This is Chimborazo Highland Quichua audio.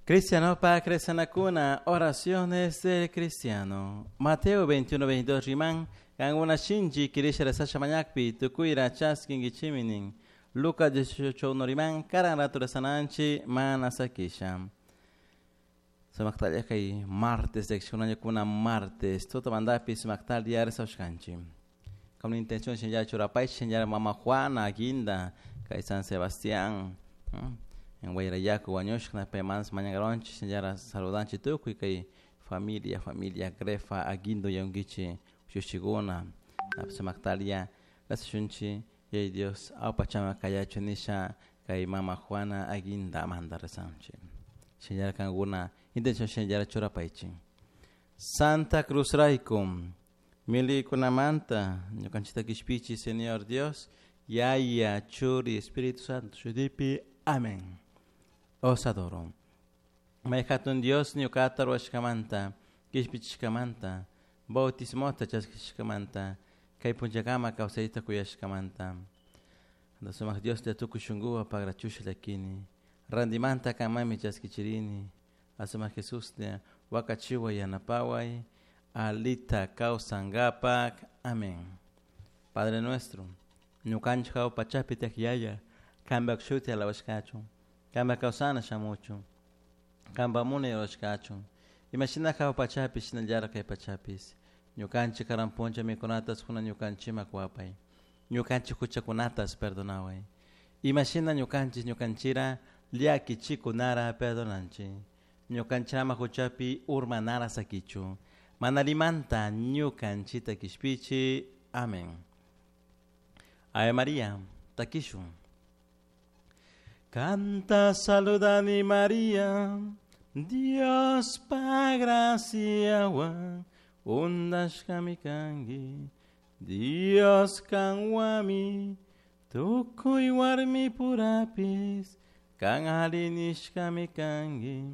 Cristiano pa cuna oraciones del cristiano. Mateo 21, 22 riman, kankuna shinchi kirisha rezasha mañakpi, tukuyra chaskinkichiminin. Lucas 18, 1 riman, karan rato rezananchi, mana sakisha. Sumaktalia kay martes, kuna martes, tutamandapi sumaktalia rezashkanchi. Con intención señalar churapay, señalar mama Juana, Guinda, kay San Sebastián. En Guayrayaco, Guañoshna, Pemans, Mañagaronchi, señora saludanchi tukuy kay familia, familia, Grefa, Aguindo, Yonguichi, Shushiguna, Sumaktalia, Lasashunchi, Yay Dios, Aupachama, Kayacho, Nisha, kay mama Juana, Aguinda, Amanda Rezanchi. Señora Kanguna, intención señora Churapaichi. Santa Cruz Raikum, Mili Kunamanta, Ñukanchita Kishpichi, Señor Dios, Yaya, Churi, Espíritu Santo, Shudipi, Amén. Os adoro. Mayhatun Dios ñuqata ruwashkamanta, kishpichishkamanta, bautismota chaskishkamanta, kay punchakama kawsayta kuyashkamanta. Sumaq Dios te tukuy shunquwan pagrachusha llakini. Randimanta kamami chaskichirini. Asumaq Jesús te wakachiwa yanapaway, alita kawsankapak. Amén. Padre nuestro, ñukanchik hawa pachapi tiyak yaya, kanpak shuti alabashkachun, kanpak kawsana shamuchun, kanpak munay rurashkachun, imashina hawa pachapi shinallara kay pachapis, ñukanchik karan puncha mikunatas kuna ñukanchikman kuwapay, ñukanchik huchakunatas perdonaway, imashina ñukanchik ñukanchira llakichikunara perdonanchik, ñukanchik ama huchapi urmanara sakichu, mana allimanta ñukanchikta kishpichi. Amén. Ave María, takishun. Canta saludani María, Dios pa graciawan, undashkami kanki, Dios kanwami, tukuy warmi purapis, kan alli nishkami kanki.